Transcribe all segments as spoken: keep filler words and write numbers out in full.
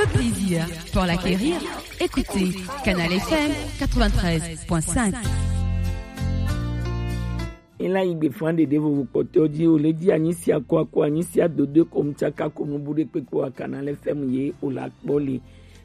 Le plaisir pour l'acquérir, écoutez Canal F M quatre-vingt-treize point cinq. Ela yi gbe fan ɖeɖe vovo kpɔtɔ ji o le di anyi sia ko ako anyi sia dodo ko mu tsaka ko nu bu ɖe kpekpe wa Canal F M ye o la kpɔ le.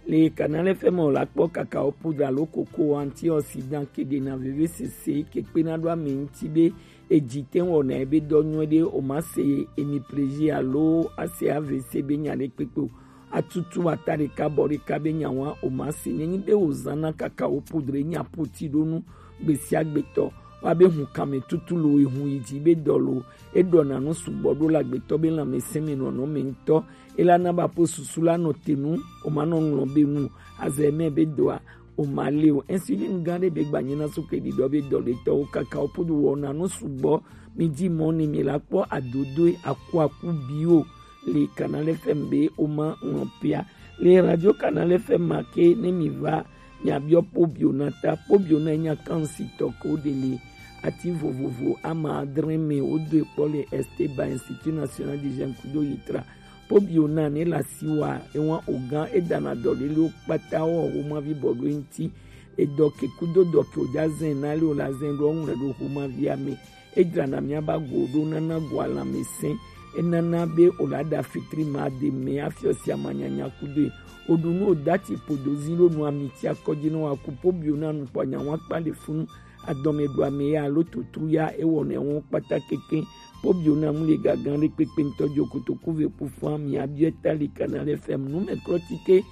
Le Canal F M o la kpɔ kakao poudre alo koko antioxydant ke ɖe na veve sese ke kpe na ɖo ame ŋuti be eji te wɔna ebe dɔ nyuie ɖe o ma se emi plaisir alo ase A V C be nya ɖe kpekpe o. Atutu ata ɖeka bɔ ɖeka be nyawa o ma se nyenyi be o zana kakao poudre nya poti ɖo nu gbesiagbetɔ wa be hun kame tutu lo ehun yi ji be dɔ lo eɖɔ na nu sugbɔ ɖo la gbetɔ be lãmesẽ me nɔnɔ me ŋutɔ ela na ba po susu la nɔ te nu o ma nɔ ŋlɔ be nu azɛ mɛ be dɔa o ma le o. Insuline gã ɖe be gbanye na so ke ɖiɖɔ be dɔ le tɔwo kakao poudre wɔ na nu sugbɔ mi ji mɔ ni mi la kpɔ adodoe akuaku bio le Canal F M be o ma ŋlɔ pia. Le Radio Canal F M ma ke ne mi va mi abiɔ pobiona ta pobiona nya kansi tɔ ko de le ati vovovo ama adre me o do kpɔ le Esteba Institut National du Jeune kudo yitra pobiona ne la siwa ewa ogan edana dɔ le le o kpata o o ma vi bɔ do enti edɔ ke kudo dɔ ke o ja zen na le o la zen do ŋlɛ do o ma vi ame Edzrana míaƒe agowo ɖo nana goa lãmesẽ. Enana be wòle aɖa fitri ma de mɛ afiɔ sia manyanya kudoe. Woɖu nu wòda tsi ƒodo zi ɖo nua mi tsi akɔ dzi ne wòaku pobio na nukpɔ nyawa kpa le funu. Adɔme ɖu ame ya alo tutru ya ewɔnɛ wɔn kpata keke. Pobio na mu le gagan ɖe kpekpe ŋutɔ dzo kotoku ve ƒu fã mi abiɔ ta li kana ɖe fɛm nu me klɔ tsi ke.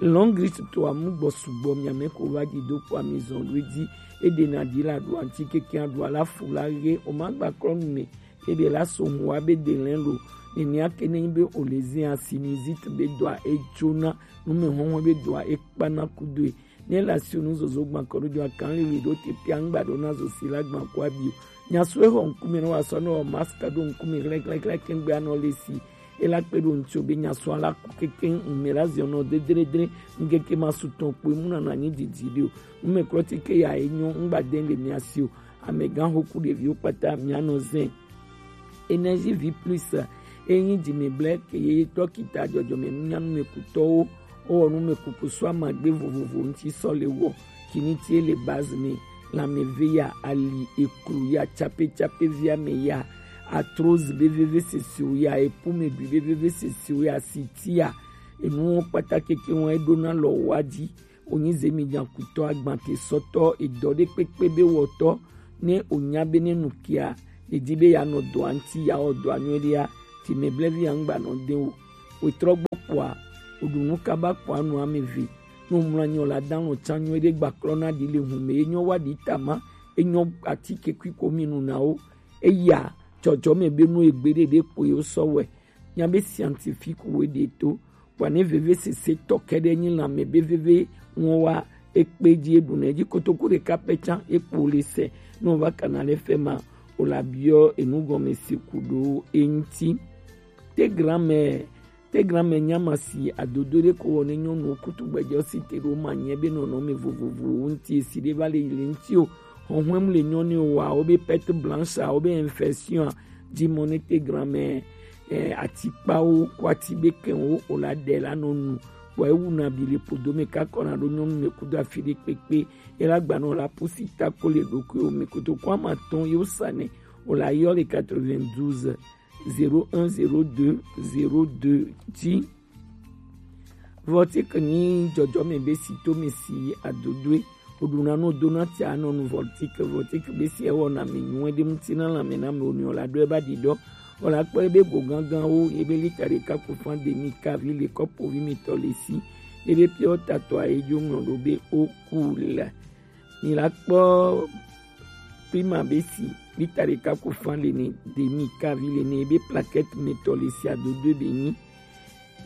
Long list to amu gbɔ sugbɔ mi ame ko va dzi do kpɔ ami zɔn ɖo edzi. Eɖena ɖi la ɖo aŋuti keke aɖu ala fu la ɣe o ma gba klɔ nu me. Eɖe la so ŋu wa be de lɛ lo. Nenea ke ne nyi be o le zin asi ni zit be dɔa edzona nu me hɔhɔ be dɔa ekpana kudoe. Ne la si o nu zozo gban kɔ ɖo dɔa kan lili ɖo te pia ŋgba ɖo na zo si la gban ko abi o. Nya so exɔ ŋkume ne wa sɔ ne wɔ mask ɖo ŋkume hlɛhlɛhlɛ ke ŋgbe anɔ le si. Ela kpe ɖo ŋutsu be nya sɔ ala ku keke ŋmɛ la ziɔ nɔ dedredre ŋkeke ma su tɔn kpoe mu nana nyi didi ɖi o. Ŋmɛ klɔ ti ke ya enyo ŋgba de le mia si o. Amegã xoku ɖeviwo kpata mia nɔ zɛn. Énergie vie plus enyi dzimɛblɛ ke ye tɔ kita dzɔdzɔme nunyanu me kutɔwo. Wowɔ nu me kuku sɔ amagbe vovovo ŋuti sɔ le wɔ. Kiniti le base me. Lãmeve ya, ali, eklu ya, tsapetsapevi ame ya, arthrose be veve sesiwo ya, epumeɖui be veve sesiwo ya, siti ya, enuwo kpata keke wɔn eɖona lɔ wa dzi. Wonyi zemi nyakutɔ agbante sɔtɔ edɔ ɖe kpekpe be wɔtɔ ne onya be ne nu kia, edi be ya nɔ dɔa ŋuti ya wɔ dɔa nyuie ɖia, ti me blevi ya ŋgba nɔ de o. Wetrɔ gbɔ kpɔa, oɖu nu kaba kpɔa nu ame ve. No mlɔ anyi o la dan lɔ tsa nyuie ɖe gbaklɔ na ɖi le hu me enyɔ wa ɖi tama enyɔ atike kui ko mi nu na wo. Eya dzɔdzɔme be nu egbe ɖe ɖe kpo ye sɔ wɛ. Nya be scientifique wo ɖe to. Kpɔa ne veve sese tɔ kɛ ɖe nyi lãme be veve ŋɔ wa ekpe dzi eɖu ne dzi kotoku ɖeka pɛ tsa ekpo le se. No va kana le fɛ ma o la biɔ enu gɔme se ku ɖo eŋuti. Te granmɛ Te granmɛ nyama si adodo ɖe ko wɔ ne nyɔnuwo kutu gbɛjɔ si te ɖo ma nyɛ be nɔnɔme vovovowo ŋuti esi ɖe va le yi le ŋuti o. Hɔhɔm le nyɔnu wa wo be perte blanche a wo be infection a dzi mɔ ne te granmɛ eh, atikpawo ko ati be kɛn wo o la ɖe la nɔ nu. Kpɔ ewu na bi le podo me kakɔ na ɖo nyɔnu me kudo afi ɖe kpekpe. Ela gbanɔ la pusi tako le ɖokui o me koto ko ama tɔn yo sa ne o la yɔ le quatre-vingt-douze zéro un zéro deux zéro deux dzi. Voltic nyi dzɔdzɔme be si to me si adodoe. Woɖuna no dona tia nɔ nu Voltic. Voltic be si ewɔna mi nyuie ɖe ŋuti na lãme na me wonɔ la ɖo eba ɖi ɖɔ. Wòla kpɔ ebe go gãgãwo ebe lita ɖeka ku fan demi kavi le kɔpovi me tɔ le si. Ebe piɔ tatɔ a edzo ŋlɔ ɖo be o ku la. Mi la kpɔ Prima be si lita ɖeka ku fan le ne demi kavi le ne ebe plaquette me tɔ le si adodo be nyi.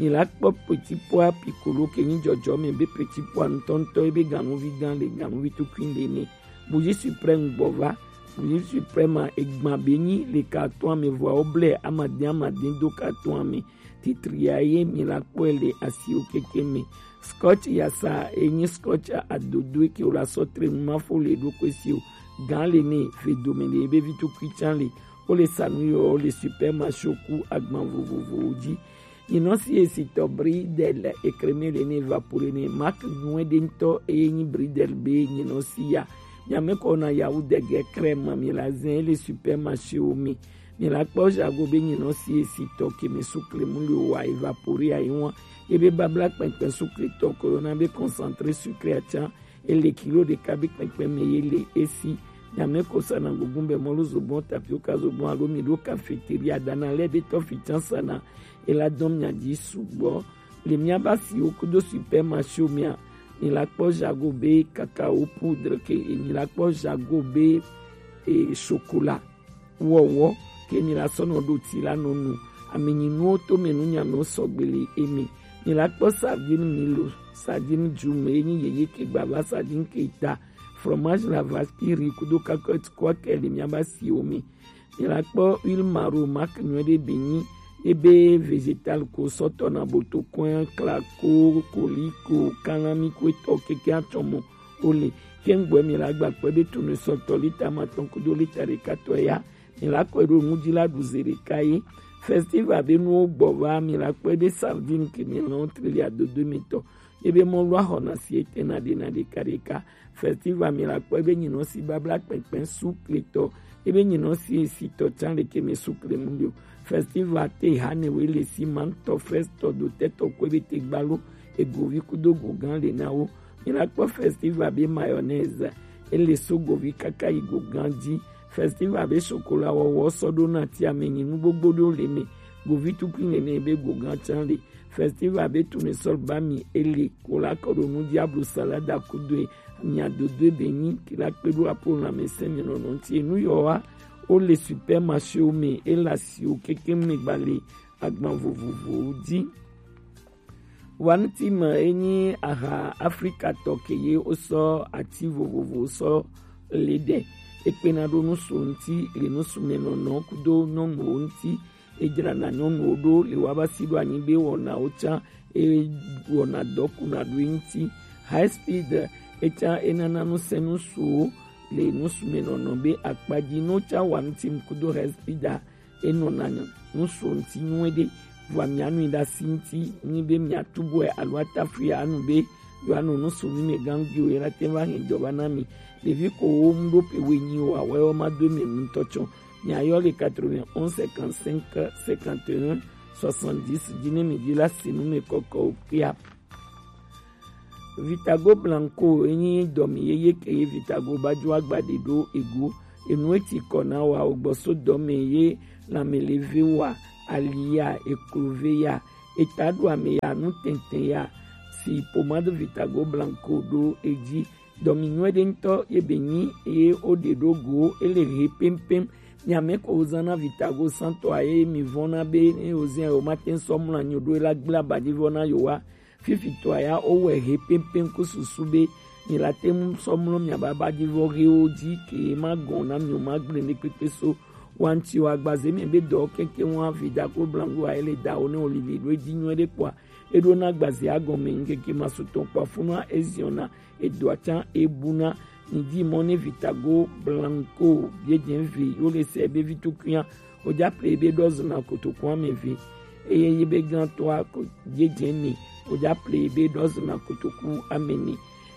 Mi la kpɔ petit pois piccolo ke nyi dzɔdzɔ me be petit pois ŋutɔŋutɔ ebe ganuvi gã le ganuvi tukui le ne. Bougie suprême gbɔ va. Bougie suprême a egban be nyi le carton ame vɔa wo blɛ amadin amadin do carton ame. Titri ya ye mi la kpɔe le asiwo keke me. Scotch yasa enyi scotch adodoe ke wo la sɔ tre nu ma fo le ɖokui si o. Gã le ne ve dome le ebe vi tukui tsan le. Wo le sa nu yɔ le supermarché ku agban vovovowo dzi. Nyinɔ si esitɔ Bridel ekreme le ne evapore ne Mark nyuɛ ɖe ŋutɔ eye nyi Bridel be nyinɔ si ya. Nyame kɔ na yawu dege krema mi la zɛn ele supermarché wo mi. Mi la kpɔ jago be nyinɔ si esitɔ ke mi sukle mu le wa evapore ayi wan. Ebe babla kpɛnkpɛn sukle tɔ ko yɔna be concentré sucré atsan ele kilo ɖeka be kpɛnkpɛn me ye le esi. Nyame ko sana gugun bɛ mɔlu zobɔn tapioka zobɔn alo mi ɖo cafeteria dana lɛ be tɔ fi tsan sana ela dɔn mia dzi sugbɔ. Le mia ba si wo kudo supermarché mia, mi la kpɔ jago be cacao poudre ke mi la kpɔ jago be e, chocolat wɔwɔ ke mi la sɔ nɔ ɖo ti la nɔ nu. Ami nyi nuwo to me nu nyame wo sɔgbe le eme. Mi la kpɔ sardine milo, sardine jume ye nyi yeye ke gbava sardine ke ta, fromage la vache qui rit kudo cacahuète kɔ ke le mia ba si wo mi. Mi la kpɔ huile maro mark nyuɛ ɖe be nyi ebe vegetal ko sɔtɔ na boto kɔn klako koliko kalami ko etɔ keke atsɔmɔ ole. Kɛngbɔɛ mi la gba kpɛ be tunu sɔtɔ lita ma tɔn kudo lita ɖeka tɔ ya. Mi la kɔe ɖo nu dzi la ɖu ze ɖeka ye. Festival be nuwo gbɔ va mi la kpɔe be sardine ke mi lɔn trili adodo mi tɔ. Ebe mɔlu axɔna si ete na ɖe na ɖeka ɖeka. Festival mi la kpɔe be nyinɔ si babla kpɛnkpɛn sukle tɔ. Ebe nyinɔ si esitɔ tsan ɖeke mi sukle mu ɖo. Festival te hane we le si mantɔ frestɔ do tɛtɔ kɔe be te gbalo egovi kudo gogan le na wo. Mi la kpɔ festival be mayonnaise ele so govi kaka yi gogan dzi. Festival be chocolat wɔwɔ sɔ ɖo na ti ame nyi nu gbogbo ɖo le me. Govi tukui nene be gogan tsan le. Festival be tournesol ba mi ele ko la kɔ ɖo nu diablo salada kudoe. Mia dodoe be nyi ki la kpe ɖo apo lãmesẽ mi nɔnɔ ŋuti enu yɔ wa. Wo le supermarché wo me ela si wo keke me gba le agban vovovowo dzi. Wanti me enyi aha Afrika tɔ ke ye wosɔ ati vovovo sɔ le ɖe. Ekpena ɖo nusu ŋuti le nusu me nɔnɔ kudo nyɔnuwo ŋuti. Edzrana nyɔnuwo ɖo le woaba si ɖo anyi be wɔnawo tsã ewɔna dɔ kuna ɖo eŋuti. High speed etsã enana nusẽ nusuwo le nusu me nɔnɔ be akpadzi no tsã wa ŋuti ŋkudo high speed a enɔna nusu ŋuti nyuie ɖe. Vɔa mianui ɖe asi ŋuti nyi be miatubɔe alo atafui anu be yewoanɔ nusu mi me gangiwo ye la te va hɛn jɔba na mi. Ɖevi ko wo ŋu ɖo pe wenyi o awɛ wo ma do mi ŋutɔ tsɔ. Miayɔ le quatre-vingt-onze cinquante-cinq cinquante et un soixante-dix dzi ne mi dzi la si nu me kɔkɔ o kpia. Vitago Blanco enyi dɔmi yeye ke ye Vitago ba jo agba de ɖo ego. Enu eti kɔ na wa o gbɔ so dɔme ye lãme le ve wa ali ya eklo ve ya eta ɖo ame ya nu tɛntɛn ya si pomade Vitago Blanco ɖo edzi. Dɔmi nyuie ɖe ŋutɔ ye be nyi eye wo ɖe ɖo go ele he pɛmpɛm. Miame ko wo zana Vitago santɔ a ye mi vɔna be ne wo zia wo ma te sɔ mla nyo ɖo la gbla ba dzi vɔna yo wa. Fifi tɔ ya wo wɛ he pɛmpɛm ko susu be mi la te mu sɔ mlɔ mia ba ba dzi vɔ he wo dzi ke ma gɔn na mi o ma gble ne kpekpe so. Wanti wa gbaze mi be dɔ keke wa Vitago Blanco a ele da wo ne o lili ɖo edzi nyuie ɖe kpɔa. Eɖo na gbazea gɔme ŋkeke masutɔ kpafuna eziɔna edoa tsã ebuna. Nidi mɔ ne Vitago Blanco biedze vi yo le se be vitukunya ojaple be dɔzuna kotoku ame vi eye yi be gantɔa ko biedze mi ojaple be dɔzuna kotoku ame ni.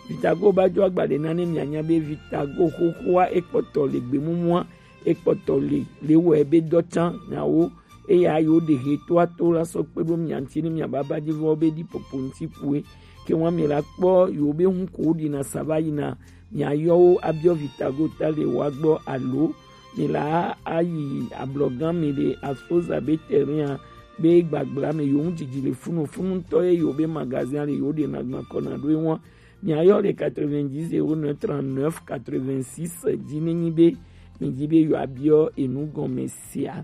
Vitago ba jo agbale na ne mianya be Vitago xoxoa ekpɔtɔ le gbemumua ekpɔtɔ le le wɔ ebe dɔ tsã nyawo. Eya yewo ɖe he toa to la sɔ kpe ɖo mia ŋuti ne mia baba dzi vɔ be ɖi popo ŋuti kue. Ke wa mi la kpɔ yewo be ŋu ko ɖina sa va yina mia yɔ wo abiɔ Vitago ta le wa gbɔ alo mi la ayi ablɔgan mi le Asfoza be terrain be gbagbla me yewo ŋu dzidzi le funu funu ŋutɔ ye yewo be magazin le yewo ɖe na gba kɔ na ɖo ewa. Mia yɔ le quatre-vingt-dix zéro neuf trente-neuf quatre-vingt-six dzi ne nyi be mi dzi be yewo abiɔ enu gɔme sia.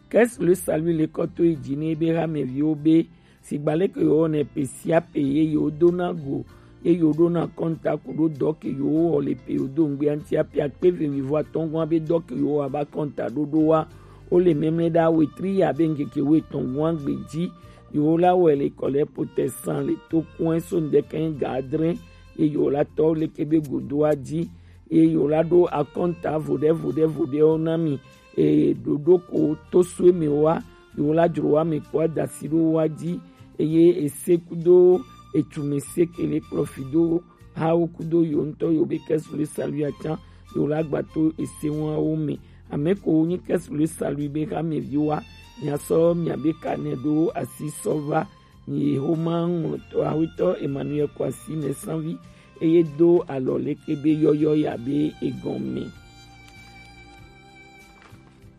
Qu'est-ce le salut le kɔ to yi dzi ne be hameviwo be sigba leke yewo ne pe sia pe ye yewo do na go ye yewo ɖo na kɔnta ku ɖo dɔ ke yewo wɔ le pe yewo do ŋgbea ŋuti ape akpe ve mi vɔ atɔngɔn be dɔ ke yewo wɔ aba kɔnta ɖoɖo wa wo le mɛmlɛ ɖa wetri ya be ŋkeke wo etɔngɔn gbe dzi yewo la wɔ le kɔ le potɛ san le to kɔn so ŋdɛkɛ ga adre ye yewo la tɔ leke be godoa dzi ye yewo la ɖo akɔnta voɖe voɖe voɖewo na mi. Eye ɖoɖo ko to sue mi wa Yewo la jro wa me kpo adasi ɖo wa ji, eye ese kudo etume se ke le kplɔ fi do hawo kudo yo ŋutɔ yo be kɛsu le salu ya can, yo la gba to ese wawo me. Ame ko wo nyi kɛsu le salu be ha me vi wa, mia sɔ mia be ka ne ɖo asi sɔ va. Ni Yehowa ŋlɔtɔ awetɔ Emmanuel Kwasi Mɛsanvi, eye do alɔ leke be yɔyɔ ya be egɔme.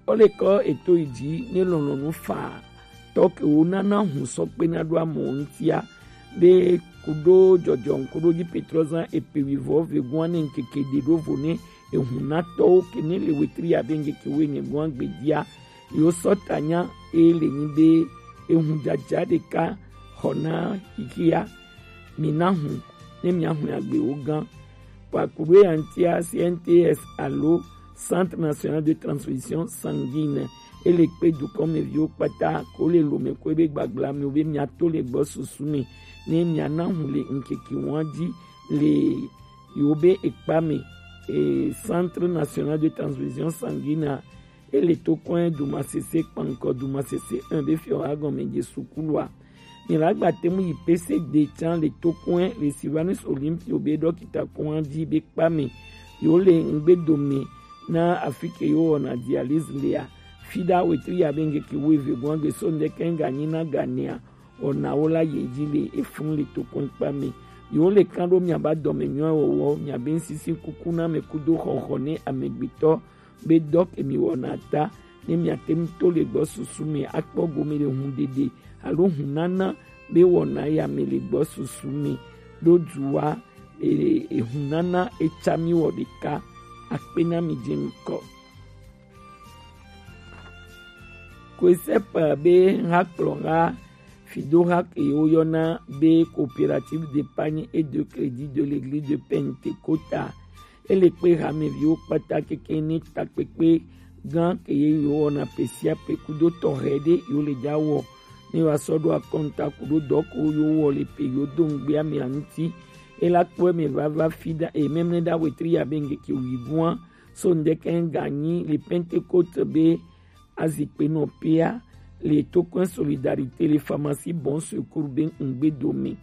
Olekɔ eto yi ji ne lɔlɔnu fa tɔ ke wo nana hun sɔ kpe na ɖo amɔ ŋutia, be kudo jɔjɔ ŋkudo ji Petrɔ zan epe wi vɔ ve guan ne ŋkeke ɖe ɖo vo ne ehun na tɔwo ke ne le wetri ya be ŋkeke wo ne guan gbedia, yo sɔ ta nya e le nyi be ehun jaja ɖeka xɔ na xixia, mi na hun ne mia hun agbe wo gan. Kpakuɖo ya ŋutia C N T S alo Centre National de Transfusion Sanguine, ele kpe dukɔmeviwo kpata ko le lome ko ebe gbagblame wo be mia to le gbɔ susu me ne mia na hun le ŋkeke wan ji le yo be ekpa me. E, Centre National de Transfusion Sanguine a, ele to kɔn Dumasese kpankɔ Dumasese un be fiɔ agɔme je sukulua. Mi la gba te mu yi P C D can le to kɔn le Sylvanus Olympio be dɔkita kɔn ji be kpa me. Yo le ŋgbe dome na afike yo wɔna dialyse lea. Fida wetri ya be ŋkeke wo eve gɔn gbe so ŋdɛ kɛn ga nyi na ga nea. Wɔnawo la ye ji le efun le to kɔn kpa me. Yo le kan ɖo miaba dɔme nyɔ wɔwɔ, miabe ŋsisi kuku na me kudo xɔxɔ ne amegbetɔ be dɔ ke mi wɔna ta, ne miate ŋu to le gbɔ susu me akpɔ gome le hun ɖeɖe alo hun nana be wɔna ya me le gbɔ susu me ɖo du wa, e, ehun nana etsa mi wɔ ɖeka. Akpe na mi je ŋkɔ. Kɔsɛp be hakplɔha fidoha ke woyɔna be Coopérative d'épargne et de crédit de l'église de Pentecôte a, ele kpe hameviwo kpata keke ni takpekpe gan ke ye yo wɔna pe sia pe kudo tɔxɛ ɖe yo le ja wɔ ne wa sɔ ɖo akɔnta kudo dɔ ko yo wɔ le pe yo do ŋgbe ame aŋuti. Ela kpɔe me vava fi da e memle da wetri ya be ŋgeke wi guan so ŋdɛkɛ ŋganyi le Pentecôte be azikpe nɔ pea le tokɔn Solidarité le pharmacie Bon Secours be ŋgbe dome.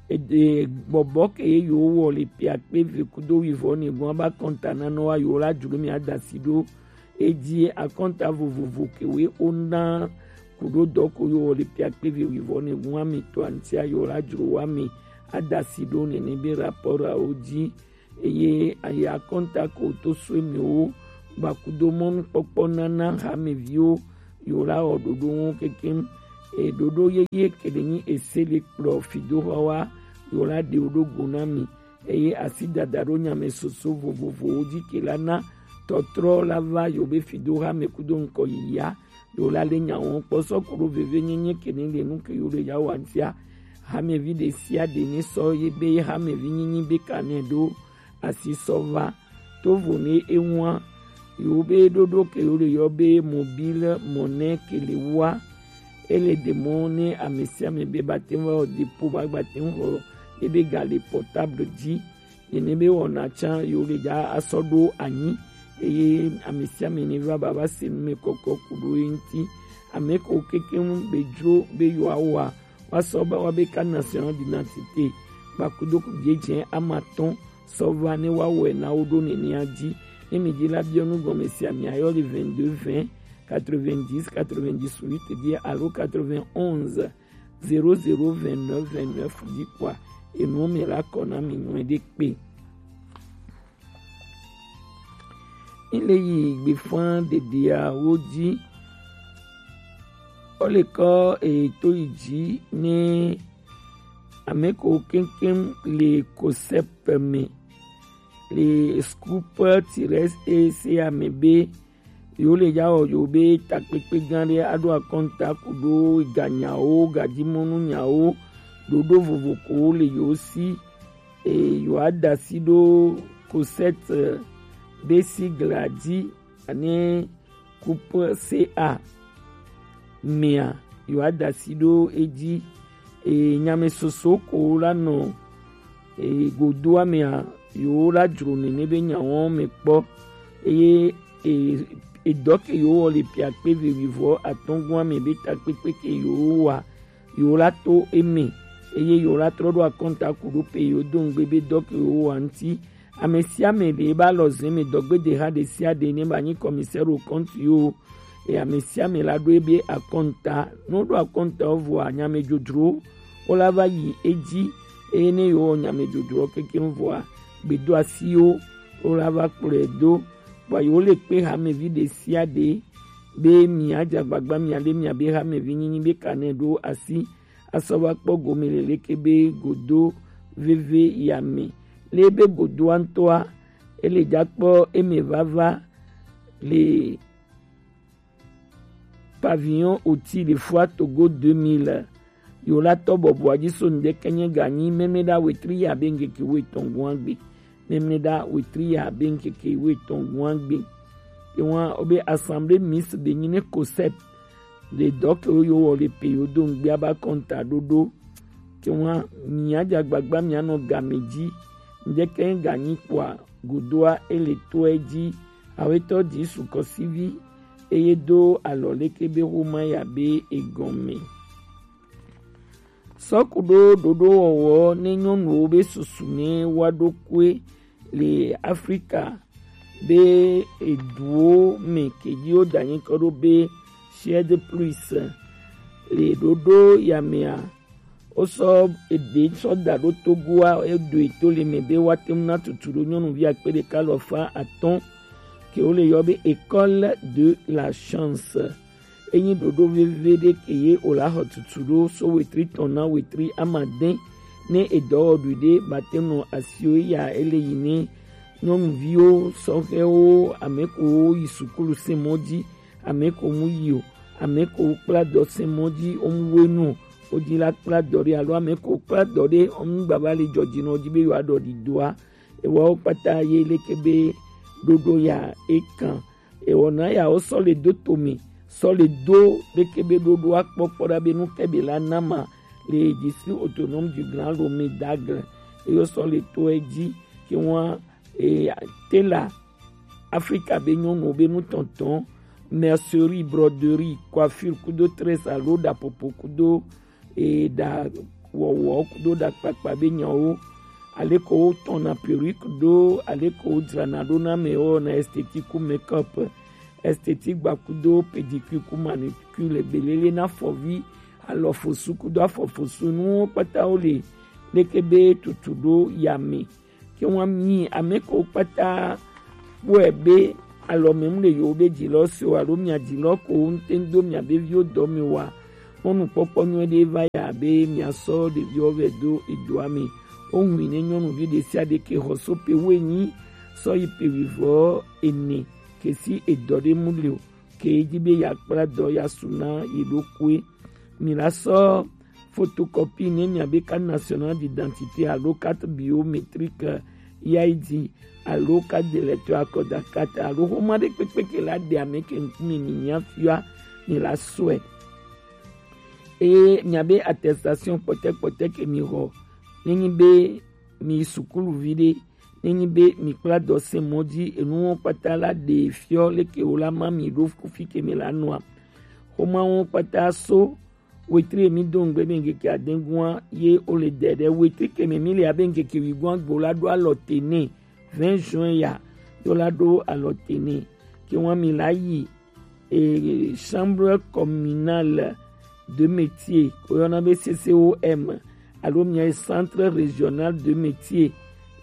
Ede bɔbɔ ke ye yo wɔ le pia kpe ve kudo wi vɔ ne gɔn ba kɔnta na nɔ wa yo la jlo mi adasi ɖo. Edi akɔnta vovovo ke we ona kudo dɔ ko yo wɔ le pia kpe ve wi vɔ ne gɔn mi to antia yo la jlo wa mi adasi ɖo nene be rapport awo ji. Eye ayi akɔnta ko to sue miwo gbakudo mɔnukpɔkpɔ nana hameviwo yo la wɔ ɖoɖo ŋu kekem. E ɖoɖo yeye ke ɖe nyi ese le kplɔ fidoxɔ wa yo la ɖe wo ɖo go na mi. Eye asi dada ɖo nyame soso vovovowo ji ke la na tɔtrɔ la va yo be fidoxa me kudo ŋkɔ yiya. Yo la le nya wɔn kpɔ sɔ ku ɖo veve nyenye ke ne le nu ke yo le ya wa ŋutia. Hamevi ɖe sia ɖe ne sɔ ye be hamevi nyinyi be ka ne ɖo asi sɔ va. To vo ne ewa yo be ɖoɖo ke yo le yɔ be mobile monnaie ke le wa. Ele ɖe mɔ ne ame sia ame be ba te ŋu wɔ dépôt ba gba te ŋu xɔ ebe ga le portable ji. Nene be wɔna tsã yo le dza asɔ ɖo anyi, eye ame sia ame ne va ba va se nu me kɔkɔ ku ɖo ye ŋuti. Ame ko kekeŋ be dzro be yewoawɔa, woasɔ be woabe carte nationale d'identité gbakudo dzedzɛ ame atɔ̃ sɔ va ne woawɔe na wo ɖo nenea dzi. Ne mi dzi la biɔ nu gɔme sia, miayɔ le vingt-deux vingt quatre-vingt-dix quatre-vingt-dix-huit dzi alo quatre-vingt-onze zéro zéro vingt-neuf vingt-neuf dzi kpɔa, enuwo me la kɔ na mi nyuiɖe kpe. Ele yi gbefa ɖeɖeawo dzi. Ole kɔ eto yi dzi ne ame ko keŋkeŋ le kosɛpɛ me le Scoop Tires ese ame be yo le ya wɔ yo be takpekpe gã ɖe aɖo akɔnta ku ɖo ganyawo, gajimɔnu nyawo, ɖoɖo vovo ko le yo si, e yo adasi ɖo kosɛt be sigla dzi ane Coupe C A mea, yo adasi ɖo edzi. E, nyame soso ko la nɔ, e, godoa mea, yo la dzro nene be nyawo me kpɔ. Eye, e, edɔ ke yewo wɔ le piakpe vevivɔ atɔngua mɛ be takpekpe ke yewo wa yewo la to eme, eye yewo la trɔ ɖo akɔnta ku ɖo pe yewo do ŋgbe be dɔ ke yewo wa ŋuti. Ame sia ame ɖe ebe alɔze mɛ dɔgbedeha ɖe sia ɖe ne ba nyi commissaire au compte yo, eye ame sia ame la ɖo ebe akɔnta. Ne woɖo akɔnta wo vɔa, nyamedzodzrowo wo la va yi edzi, eye ne yewo wɔ nyamedzodzrowo kekeŋ vɔa, gbedoasiwo wo la va kplɔe do. Vɔa yewo le kpe hamevi ɖe sia ɖe be miadze agbagba miaɖe miabe hamevi nyinyi be kanɛ ɖo asi asɔ va kpɔ gome le leke be godo veve ya me. Le be godoa ŋutɔa, ele dza kpɔ eme vava le Pavillon Oti le Foire Togo deux mille. Yo la tɔ bɔbɔa dzi so ŋdɛkɛ nye ganyi memle ɖa wetri ya be ŋkeke wo etɔn gua gbe. Memle ɖa wetri ya be ŋkeke wo etɔn gua gbe. Ke wa o be assemblée mixte de nyi ne COSEP. Le dɔ ke wo yo wɔ le pe yo do ŋgbia ba kɔnta ɖoɖo. Ke wa mia dza gbagba mia nɔ game dzi. Ŋdɛkɛ nye ganyi kpoa godoa ele tɔe dzi. Awetɔ dzi sukɔsivi eye do alɔ leke be xoma ya be egɔme. Sɔ ku ɖo ɖoɖo wɔwɔ ne nyɔnuwo be susu ne wa ɖo kue le Afrika be eduwo me ke dzi wo da nyi kɔ ɖo be Suède plus le ɖoɖo ya mea, wo sɔ eɖe sɔ da ɖo Togoa, eɖo eto le me be wa te ŋu na tutu ɖo nyɔnuvi akpe ɖeka alafa atɔ̃ ke wo le yɔ be école de la chance. Enyi ɖoɖo veve ɖe ke ye o la xɔ tutu ɖo so wetri tɔn na wetri amadɛn ne edɔwɔɖui ɖe ba te nɔ asio ya ele yi ne nyɔnuviwo, sɔhɛwo, ame ko wo yi sukulu se mɔ dzi, ame ko mu yi o, ame ko kpla dɔ se mɔ dzi, wo mu wo nu o, wo dzi la kpla dɔ ɖe alo ame ko kpla dɔ ɖe, wo mu gbava le jɔjinɔ dzi be yewoa ɖɔ ɖidoa. Ewawo kpata ye leke be ɖoɖo ya ekan. Ewɔ na ya wo sɔ le do tome, sɔ le do leke be ɖoɖoa kpɔkpɔ ɖa be nu ke be la nama le district autonome du Grand Lomé d'Aigle. Eyo sɔ le to edzi ke wa e, tela Afrika be nyɔnuwo be nutɔntɔn, mercerie, broderie, coiffure kudo tresse alo ɖapopo kudo e, ɖa wɔwɔ kudo ɖakpakpa be nyawo, aleko wotɔna perruque ɖo, aleko wodzrana ɖo na ame wɔna esthétique ku make-up, esthétique gba kudo pédicure ku manucure le belele na afɔvi, alɔfosu kudo afɔfosu nuwo kpata wo le leke be tutu ɖo ya me. Ke wa mi ame ko kpata kpɔe be alɔme mu le yewo be dzilɔ se o alo mia dzilɔ ko ŋute do mia be viwo dɔ me wa. Mɔnukpɔkpɔ nyuie ɖe va ya be mia sɔ ɖeviwo vɛ do edoa me. Wo ŋui ne nyɔnuvi ɖe sia ɖe ke xɔ so pe wo enyi sɔ yi pe wivɔ ene ke si edɔ ɖe mu le o. Ke edzi be ya kpla dɔ ya su na yi ɖokuie. Mi la sɔ photocopie ne mia be carte nationale d'identité alo carte biométrique ya yi dzi alo carte d'électeur, accordé à carte alo xoma ɖe kpekpe ke la ɖe ame ke ŋkume mi nya fia mi la sɔe. Eye mia be attestation kpɔtɛkpɔtɛ ke mi xɔ ne nyi be mi sukuluvi ɖe, nenyi be mi kpla dɔ se mɔ dzi enuwo kpata la ɖe fiɔ leke wo la ma mi ɖo kufi ke mi la nɔa. Xoma wo kpata so wetri mi do ŋgbe be ŋkeke adegua ye wo le dɛ ɖe wetri ke mi mi le abe ŋkeke wigua gbo la ɖo alɔ te ne vingt juin ya yo la ɖo alɔ te ne ke wa mi la yi e, Chambre communale de métier, ko yɔna be C C O M, alo mia Centre régional de métier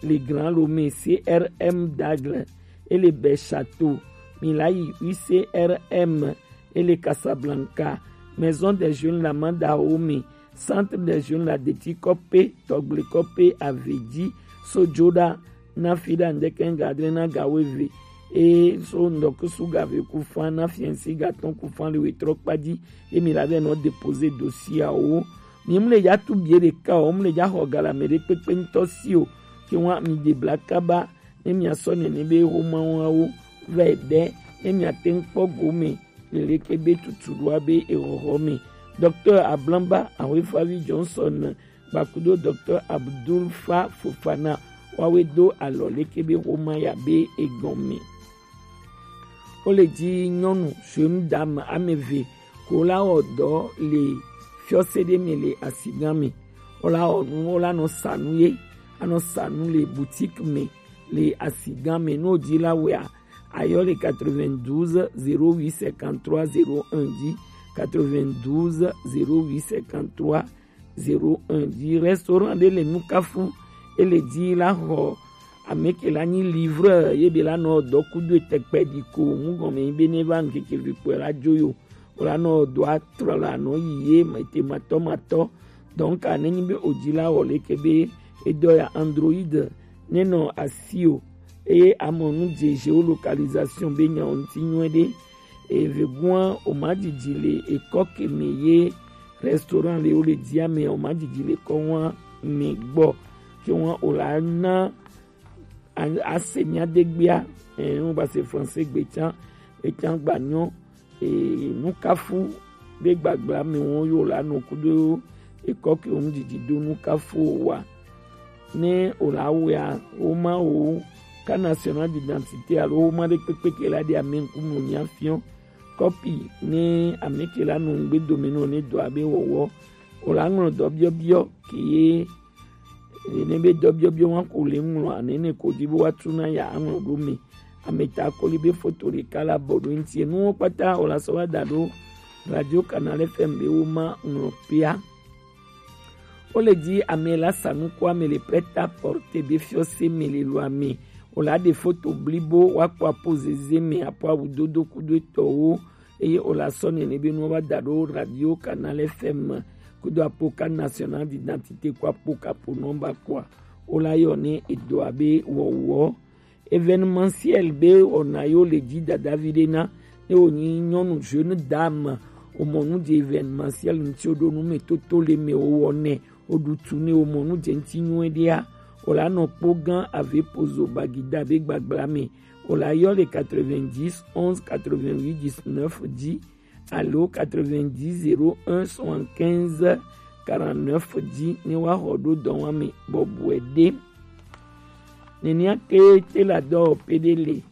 le Grand Lomé, C R M d'Aigle, et le Bel Château, mi la yi U C R M, et le Casablanca, Maison des Jeunes la Mandahome, Centre des Jeunes la Deti Kɔpe, Tɔgble Kɔpe, Avedzi, Sojoda, na fi ɖa ŋdɛkɛ ŋga adre na ga weve. E so ŋdɔkusu ga ve ku fa na fiɛnsi ga tɔn ku fa le wetrɔ kpa dzi. Ye mi la vɛ nɔ déposer dossier awo. Mi mu le dza tu bie ɖeka o, mu le dza xɔ ga le ame ɖe kpekpe ŋutɔ si o. Ke wa mi de bla kaba ne mia sɔ nene be xoma wawo vɛ ɖe ne mia te ŋkpɔ gome le leke be tutu ɖoa be exɔxɔ me. Docteur Ablamba Ahoefavi Johnson Gbakudo Docteur Abdul Fa Fofana wawe do alɔ leke be xoma ya be egɔme. Wo le ji nyɔnu, jeune dame, ame eve ko la wɔ dɔ le fiɔse ɖe me le asigan me. Wo la wɔ nu, wo la nɔ sa nu ye, anɔ sa nu le boutique me le asigan me. Ne wo ji la wɔea, ayɔ le quatre-vingt-douze zéro huit cinquante-trois zéro un ji, quatre-vingt-douze zéro huit cinquante-trois zéro un ji. Restaurant ɖe le Nukafu, e le ji la xɔ ame ke la nyi livreur ye be la nɔ dɔ kudo tɛkpɛ ɖi ko mu gɔme nyi be ne va ŋkeke vi kpɔe la jo yo. O la nɔ dɔ atrɔ la nɔ yi ye mete matɔ matɔ. Donc ne nyi be o ji la wɔ le ke be e dɔ ya Android ne nɔ asi o, eye amɔ nu je géolocalisation be nya o ŋuti nyuie ɖe. Eve gua o ma didi le ekɔ ke me ye restaurant le wo le ji ame o ma didi le kɔ wa me gbɔ ke wa o la na a- ase mia de gbia. Eh, wo ba se français gbe can e can gba nyɔ. Eh, Nukafu be gbagba me wo yo la no kudo ekɔ ke o mu didi do Nukafu wa. Ne o la wɔea, wo ma wo carte nationale d'identité alo wo ma ɖe kpekpe ke la ɖe ame ŋkume o nya fiɔ. Kɔpi ne ame ke la nɔ ŋgbe dome nɔ ne dɔ abe wɔwɔ. O la ŋlɔ dɔ biɔbiɔ ke ye ne be dɔ biɔbiɔ wa ko le ŋlɔ ane ne ko di be wa tu na ya aŋlɔ ɖo me. Ame ta koli be foto ɖeka la bɔ ɖo ŋuti. Enuwo kpata o la sɔ wa da ɖo Radio Canal F M be wo ma ŋlɔ pea. Wo le ji ame la sa nuku ame le prêt-à-porter be fiɔse me le lo ame. O la ɖe foto blibo wa kpɔ apo zeze me apo awu dodo kudo etɔwo. Eye o la sɔ nene be nuwo va da ɖo Radio Canal F M kudo apo carte nationale d'identité ko apo kapo nɔmba kɔa. O la yɔ ne edo abe wɔwɔ. Événementiel be wɔna yo le ji dadavi ɖe na ne wonyi nyɔnu jeune dame. O mɔ nu je événementiel ŋuti o ɖo nu me toto le me o wɔ nɛ o ɖu tu ne o mɔ nu je ŋuti nyuie ɖea. O la nɔ kpo gan ave pozo bagida be gbagba me. O la yɔ le quatre-vingt-dix onze quatre-vingt-huit dix-neuf ji alo quatre-vingt-dix zéro un soixante-quinze quarante-neuf ji ne wa xɔ ɖo dɔwame bɔbɔe ɖe. Nenia ke te la dɔ pe ɖe le.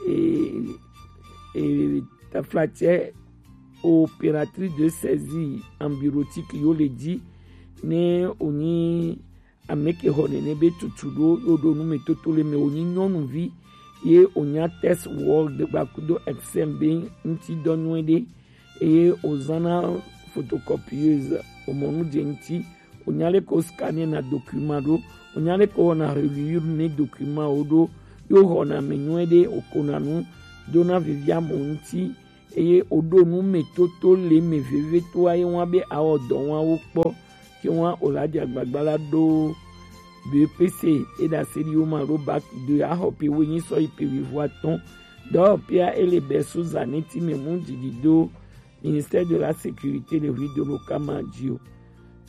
E, e, taflatsɛ opératrice de saisie en bureautique yo le ji ne o nyi ame ke xɔ nene be tutu ɖo yo ɖo nu me toto le me o nyi nyɔnuvi ye o nya test word gba kudo Excel be ŋuti dɔ nyuie ɖe. Eye o zana photocopieuse o mɔ nu je ŋuti o nya le ko scanner na document ɖo o nya le ko wɔna reliure ne document o ɖo yo xɔna me nyuie ɖe o kona nu dona vivia mo ŋuti. Eye o ɖo nu me toto le me veve to aye wa be awɔ dɔ wa wo kpɔ ke wa o la di agbagba la ɖo B E P C e da se ɖi wo ma ɖo bac de axɔ pe wo nyi sɔ yi pe wivo atɔn. Dɔwɔpea e le bɛ so zane ti me mu didi do ministère de la sécurité le rue de l'Okama ji o.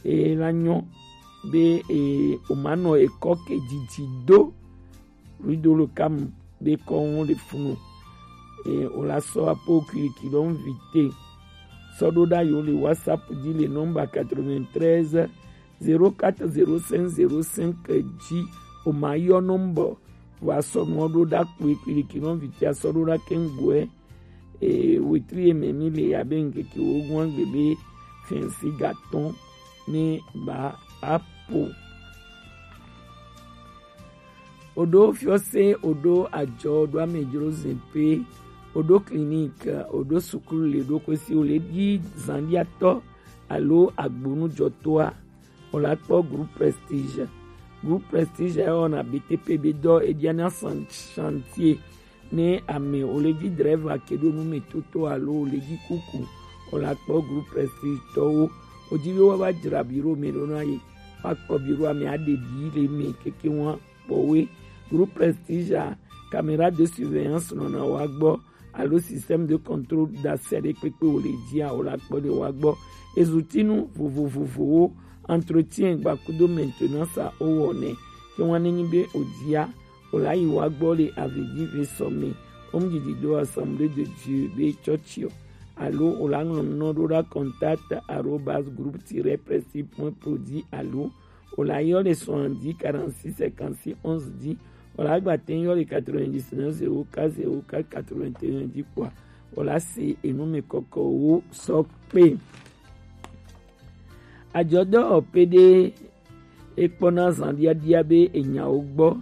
E la nyɔ be e o ma nɔ ekɔ ke didi do. Ridolo kam be kɔn le funu. E o la sɔ apo kiri kilon vite. Sɔ ɖo ɖa yo le WhatsApp di le nɔmba quatre-vingt-treize zéro quatre zéro cinq zéro cinq ji. O ma yɔ nɔmbɔ wa sɔ nɔ ɖo ɖa kpo kiri kilon vite a sɔ ɖo ɖa kɛngbɔɛ. E wetri e me mi le abe ŋkeke wo gɔn gbe be fɛnsi gatɔn ne ba apo. Oɖo fiɔse, oɖo ajɔ, oɖo amedzro zɛnpe, oɖo clinique, oɖo sukulu le ɖo kwesi o le ɖi zanɖiatɔ alo agbonujɔtɔa, o la kpɔ Groupe Prestige. Groupe Prestige ya wɔna B T P be dɔ e ɖia na san- chantier ne ame o le ɖi driver ke ɖo nu me toto alo o le ɖi kuku, o la kpɔ Groupe Prestige tɔwo. O ji be wa va dzra bureau me ɖo na ye. Wa kpɔ bureau ame a ɖe ɖi le me keke wa kpɔwe. Groupe Prestige a, caméra de surveillance nɔna wa gbɔ alo système de contrôle d'accès ɖe kpekpe wo le jia o la kpɔ ɖe wa gbɔ. Ezutinu vovovovowo, entretien gba kudo maintenance a o wɔnɛ. Ke wa ne nyi be o jia o la yi wa gbɔ le avedzi ve sɔ me. O mu didi do Assemblée de Dieu be chɔchiɔ. Alo o la ŋlɔ nɔ ɖo ɖa contact arobase groupe tiret prestige point pro dzi alo o la yɔ le soixante-dix quarante-six cinquante-six onze dzi. Wala gba te yɔ le quatre-vingt-dix-neuf zéro quatre zéro quatre quatre-vingt-un dix kpɔa. Wala se enu mi kɔkɔ wo sɔ kpe. Ajɔdɔ pede ekpɔna zan diadia be enyawo gbɔ.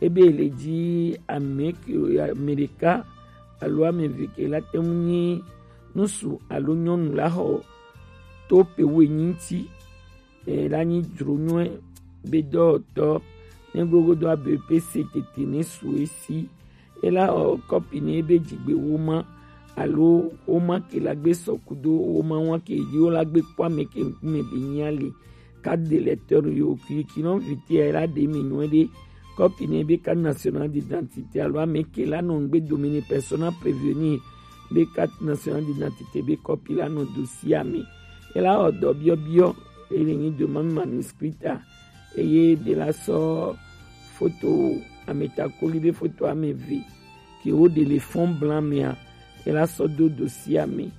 Ebe le dzi ame ke, ame ɖeka alo ame eve ke la te ŋu nyi ŋutsu alo nyɔnu la xɔ to pe wo enyi ŋuti. E la nyi dzro nyuie be dɔwɔtɔ ne gblogodo abe pe se tete ne su esi. E la xɔ kɔpi ne be dzigbe woma alo woma ke la gbe sɔ kudo woma wa ke dzi wo la gbe kpɔ ame ke ŋkume be nya le. Carte d'électeur yo ki ki non vite e la de mi nyuie de. Kɔpi ne be carte nationale d'identité alo ame ke la nɔ ŋgbe dome ne persona prévenir be carte nationale d'identité be kɔpi la nɔ dossier ame. E la xɔ dɔ biɔbiɔ e le nyi demande manuscrite a. Eye de la sɔ foto ametakoli be foto ame eve ke wo de le fond blanc mea. E la sɔ do dossier ame.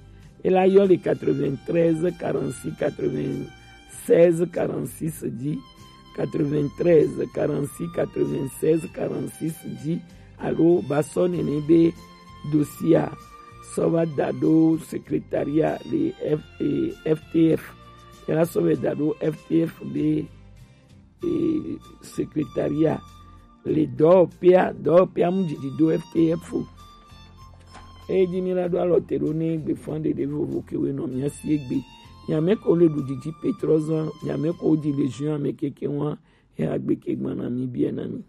E la yɔ le quatre-vingt-treize quarante-six quatre-vingt-seize quarante-six dzi. Quatre-vingt-treize quarante-six quatre-vingt-seize quarante-six dzi alo ba sɔ nene be dossier a sɔ va da ɖo secrétariat le F, eh, F T F. E la sɔ va da ɖo F T F be, eh, secrétariat le dɔwɔƒea, dɔwɔƒea mu dzidzi do F T F o. Eye dzi mi la ɖo alɔ te ɖo ne gbefan ɖeɖe vovo ke we nɔ mia si egbe. Nyame ko le ɖu dzidzi Petrozan, nyame ko dzi le juin ame keke wa, ya gbe ke gbana mi bia na mi.